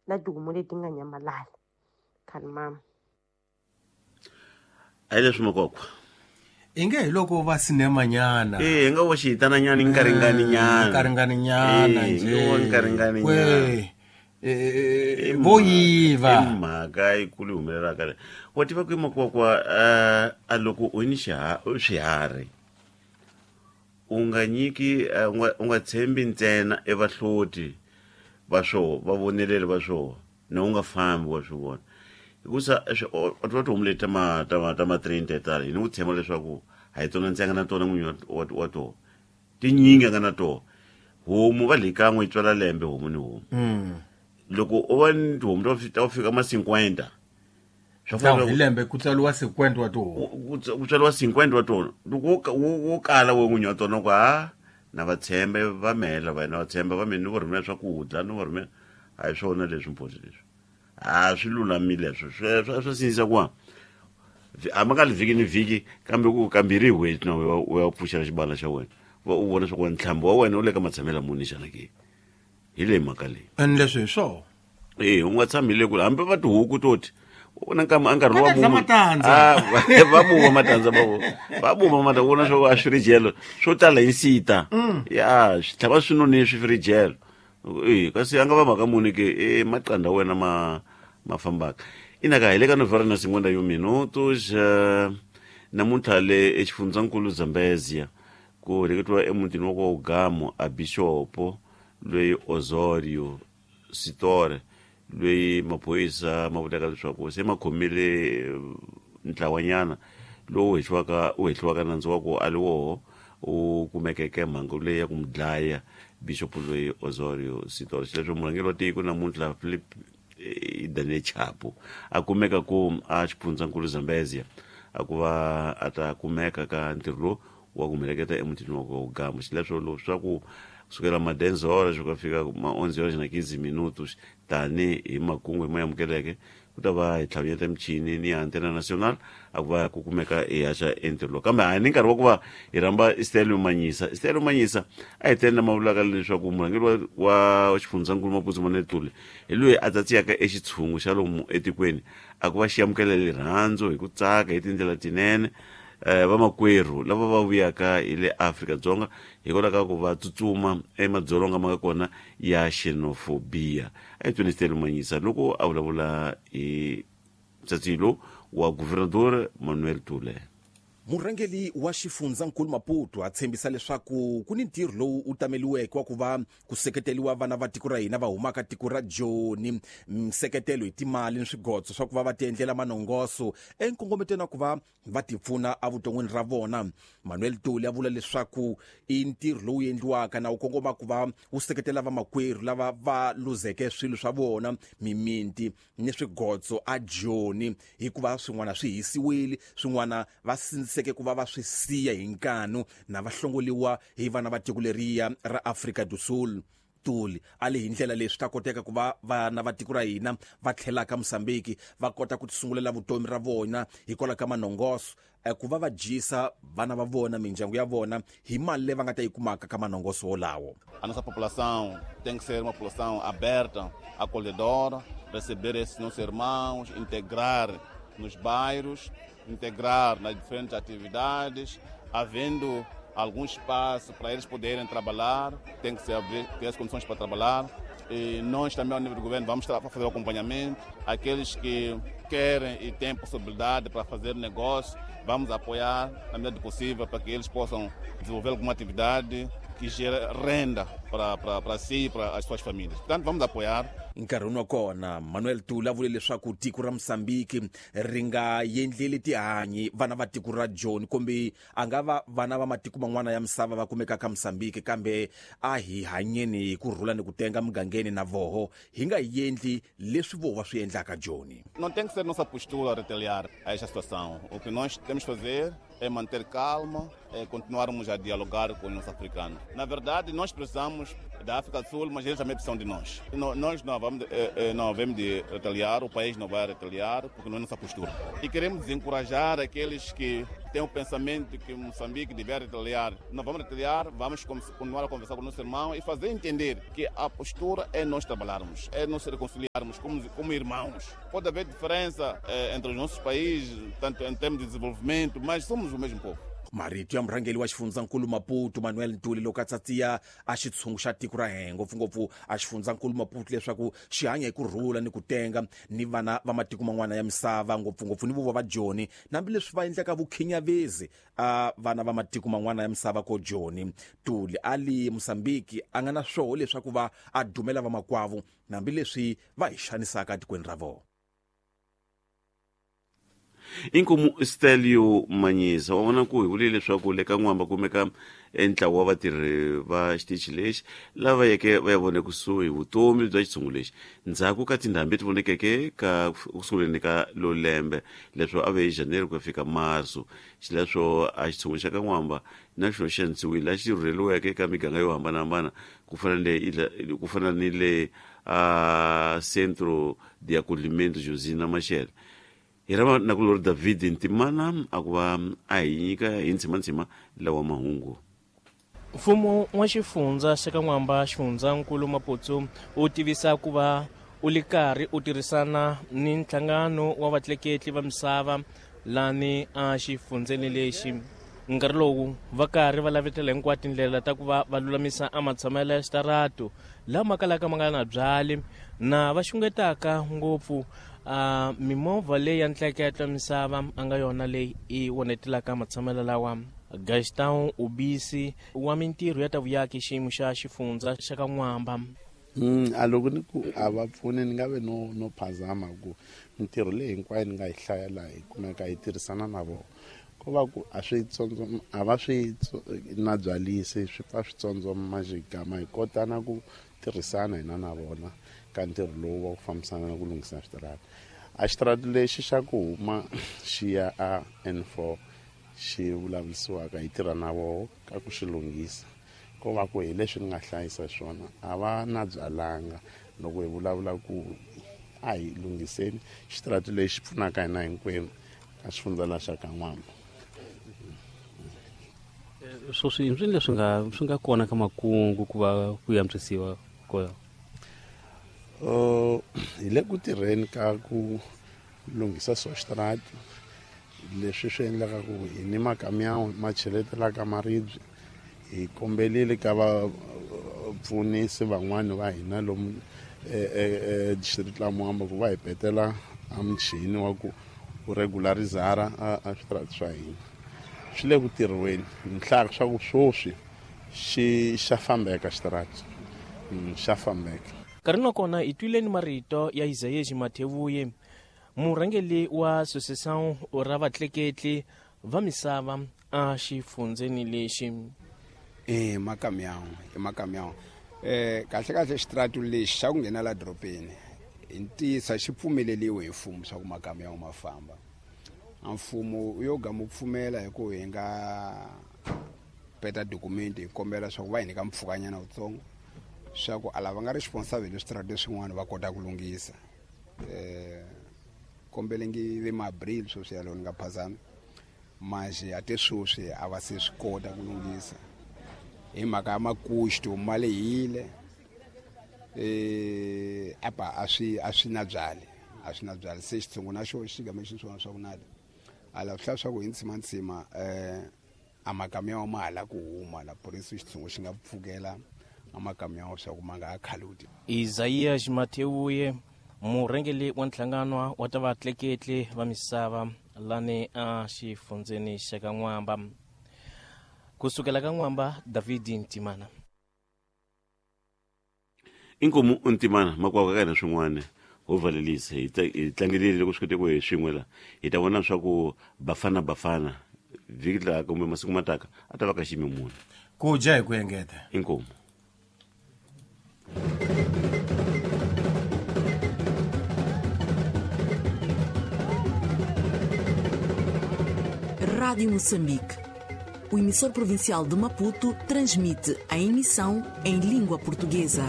Na tihomu leti nga nyamalala. Khalimama. A hi leswi makokwa. Inge hi loko va sinemanyana. Eh, nga wo xihitananyana nkaringaninyana. Nkaringaninyana Eh, nje. nga wo nkaringaninyana. Kwe. Eh, vo yiva. I mhaka yikulu yi humelelaka le. Wa tiva ku makokwa a loko u ni swiharhi u nga nyiki u nga tshembi ntsena evahloti va swoho, va voneleri va swoho, na u nga fambi wa swi vona. Hikusa wa tiva tihomu leti ta ma 30 tala, hi ni ku tshemba leswaku a hi tona ntsenga na tona n'winyi wa tona. Tinyingi a nga na tona. Homu va le kan'we yi tswala lembe homu ni homu. Loko u va ni tihomu ta ku fika ma 50, swa Tau, fanela hi lembe ku tswariwa 50 wa tihomu. Ku tswariwa 50 wa tona. Loko wo kala we n'winyi wa tona ku, ha, na va tshembe va mela va na va tshemba va mina ni va rhumela swakudya, ni va rhumela. A hi swona leswi mphosi leswi. A swi lulamile leswi. Swa sindzisa ku hambi nga vhiki ni vhiki, kambe ku kambirhi hi n'hweti na u ya pfuxela xibala xa wena. Va u vona swa ku ntlhambi wa wena wu le ka matshamelo muni xana ke? Hi leyi mhaka leyi. And leswi hi swona. Eh, u nga tshami le kule hambi va tihuku to ti. U na nkama, a nkarhi Va wa ta dlaya vuma. matandza. Ah, va vuma matandza, va vuma. Va vuma matandza, u vona swa ku a swi ri jelo. Swo tala hi nsita. Ya, swi tlhava swi nonile swi ri jelo. Eh, kasi a nga va mhaka muni ke, eh, maqanda wena ma fambaka. Ina ka hi le ka novhara na cinquenta e um minutos, namuntlha le exifundzankulu Zambezia, ku heleketiwa emutini wa kwa Ugamo a Bishopo loyi Osorio Sitore, loyi maphorisa ma vulaka leswaku se ma khomile ntlawanyana lowu u hehliwaka nandzu wa ku a li woho u kumekeke mhangu leyi ya ku n'wi dlaya Bishop loyi Osorio Sitore. Xileswo murhangeri wa tiko namuntlha Philip Daniel Chapo a kumeka ku a xifundzankulu Zambezia a ku va a ta kumeka ka ntirho lowu wa ku heleketa emutini wa ku Ugamo. Xileswo leswaku kusukela ma dez horas ku fika ma onze horas na quinze minutos tani hi makungu hi ma amukeleke ku ta va hi tlhavinyeta michini ni ya Antena Nacional a ku va ku kumeka hi haxa entirho lowu. Kambe a hi ni nkarhi wa ku va hi rhamba Stelio Manyisa. Stelio Manyisa a hi tele lama vulaka leswaku murhangeri wa xifundzankulu Maputo Manuel Tuli hi loyi a tsatsiyaka exitshungu xa lomu etikweni a ku va xi amukela rirhandzu hi ku tsaka hi tindlela tinene. Vamakwerhu lava va vuyaka hi le Afrika-Dzonga hikwalaho ka ku va tsutsuma emadzolonga ma nga kona ya xenophobia. A hi tweni Stelio Manyisa loko a vulavula hi tsatsilo wa Governador Manuel Tule. Murhangeri wa xifundzankulu Maputo a tshembisa leswaku ku ni ntirho lowu u tameliweke wa ku va ku seketeriwa vana va tiko ra hina va humaka tiko ra Joni, nseketelo hi timali ni swigotso swa ku va va tiendlela manongoso enkongometweni wa ku va va tipfuna evuton'wini ra vona. Manuel Tuli a vula leswaku i ntirho lowu endliwaka na wu kongoma ku va wu seketela vamakwerhu lava va luzeke swilo swa vona, mimiti ni swigotso a Joni, hikuva swin'wana swi hisiwile, swin'wana va sindziseke ku va va swi siya hi nkanu na va hlongoliwa hi vana va tiko leriya ra Afrika do Sul. Tuli a le hi ndlela leswi ta koteka ku va vana va tiko ra hina va tlhelaka Mozambique va kota ku tisungulela vutomi ra vona hikwalaho ka manongoso, ku va va dyisa vana va vona mindyangu ya vona hi mali leyi va nga ta yi kumaka ka manongoso wolawo. A nossa população tem que ser uma população aberta, acolhedora, receber esses nossos irmãos, integrar nos bairros, integrar nas diferentes atividades, havendo algum espaço para eles poderem trabalhar, tem que se abrir, ter as condições para trabalhar. E nós também, ao nível do governo, vamos fazer o acompanhamento. Aqueles que querem e têm possibilidade para fazer negócio, vamos apoiar na medida do possível para que eles possam desenvolver alguma atividade que gere renda para si e para as suas famílias. Portanto, vamos apoiar. Nkarhi wa kona, Manuel Tuli a vule leswaku tiko ra Mozambique ri nga endleli tihanyi vana va tiko ra Joni, kumbe a nga va vana va matiko man'wana ya misava va kumekaka Mozambique, kambe a hi hanyeni hi ku rhula ni ku tenga mugangeni na voho, hi nga endli leswi vo va swi endlaka Joni. Não tem que ser nossa postura retaliar a esta situação. O que nós temos que fazer é manter calma, é continuarmos a dialogar com os nossos africanos. Na verdade, nós precisamos da África do Sul, mas eles também precisam de nós. Nós não vamos, não havemos de retaliar, o país não vai retaliar, porque não é nossa postura. E queremos desencorajar aqueles que têm o pensamento que Moçambique deve retaliar. Não vamos retaliar, vamos continuar a conversar com o nosso irmão e fazer entender que a postura é nós trabalharmos, é nós reconciliarmos como irmãos. Pode haver diferença entre os nossos países, tanto em termos de desenvolvimento, mas somos o mesmo povo. Marito ya murhangeri wa xifundzankulu Maputo Manuel Ntuli loko a tsatsiya a xitshungu xa tiko ra hina ngopfungopfu a xifundzankulu Maputo leswaku xi hanya hi ku rhula ni ku tenga ni vana va matiko man'wana ya misava ngopfungopfu ni vo va Joni hambileswi va endlaka vukhinyavezi a vana va matiko man'wana ya misava ko Joni. Ntuli ali Mozambique a nga na swoho leswaku va a dumela vamakwavo hambileswi va hi xanisaka etikweni ra vona. Inkomu Stelio Manyisa wa vona ku hi vule leswaku le ka N'wamba kumeka entlawa wa vatirhi va xitichi lexi lava yeke va ya vona kusuhi vutomi bya xitshungu lexi ndzhaku ka tindhambi leti vonekeke ka kusunguleni ka lo lembe leswo a ve hi January ku ya fika Marso. Xileswo a xitshungu xa ka N'wamba na xona xi antswiwile lexi rhurheliweke eka miganga yo hambanahambana ku fana ni le a Centro de Acolhimento Josina Machel. Hi rama na ku lori David Ntimana a ku va a hi nyika hi ntsimantsima lawa mahungu. Mfumo wa xifundza xa ka N'wamba xifundzankulu Maputo u tivisa ku va u le karhi u tirhisana ni nhlangano wa vatleketli va misava lani a xifundzeni lexi. Nkarhi lowu va karhi va lavetela hinkwato tindlela ta ku va va lulamisa a matshamelo ya xitarato lama kalaka ma nga na byali na va xungetaka ngopfu mimovha leyi ya ntleketlo misava a nga yona leyi i onetelaka matshamelo lawa. Gaston Ubisi wa mintirho ya ta vuyaki xiyimo xa xifundza xa ka N'wamba. A loko ni ku a va pfuni ni nga ve no phazama ku mintirho leyi hinkwayo ni nga yi hlaya laha hi kumeka hi tirhisana na vona ko va ku a swi a va swi na byalisi swi pfa swi tsondzoma xigama hi kota na ku tirhisana hina na vona ka ntirho lowu wa ku fambisana na ku lunghisa switarata. A xitarata lexi xa ku huma xi ya a N4 xi vulavurisiwaka hi tirha na voho ka ku xi lunghisa ko va ku hi leswi ni nga hlayisa swona a va na byalanga loko hi vulavula ku a hi lunghiseni xitarata lexi pfunaka hina hinkwenu ka xifundza xa ka N'wamba. Sweswi i leswi swi nga kona ka makungu ku va ku antswisiwa kona. Hi le ku tirheni ka ku lunghisa swa xitarata leswi swi endlaka ku hi ni makamiyawu ma cheletelaka maribye hi kombelile ka vapfunisi van'wani va hina lomu district la Mwamba ku va hi petela a muchini wa ku u regularizara a switarata swa hina. Swi le ku tirhiweni ni hlaya swa ku swoswi xi xa fambeka xitarata xa fambeka. Nkarhi na kona hi twileni marito ya Isaías Mathevuye murhangeri wa Associação ra vatleketli va misava a xifundzeni lexi. Makamiyawu kahle kahle xitarata lexi xa ku nghena la dorobeni hi ntiyiso xi pfumeleliwe hi mfumo swa ku makamiyawu ma famba. A mfumo wu yo gama wu pfumela hi ku hi nga peta dokumenti hi kombela swa ku va hi nyika mpfhukanyana wutsongo swa ku a lava nga responsible hi switarata swin'wana va kota ku lunghisa. Kombelengi ve ma-abril sweswi yalowo ni nga phazami manje a te sweswi a va se swi kota ku lunghisa hi mhaka ya makuxto ma lehile apa a swi na byali se xitshungu na xo xi game xi swona swa ku nada a la swi swa ku hi ntsimantsima a makamiyawu ma hala ku huma la purisi xitshungu xi nga pfukela a makamiyawu swa ku ma nga ha khaluti. Isaías Mathewuye murhangeri wa nhlangano wa ta vatleketli va misava lani a xifundzeni xa ka N'wamba. Kusukela ka N'wamba, David Ntimana. Inkomu Ntimana makwavo ka hina swin'wana ho valelisa hi tlangelile loko swi kote ku hi swin'we la hi ta vona swa ku Bafana Bafana vhiki laha kumbe masiku mataka a ta va ka xiyimo muni ku dya hi ku engeta. Inkomu. Rádio Moçambique. o emissor provincial de Maputo transmite a emissão em língua portuguesa.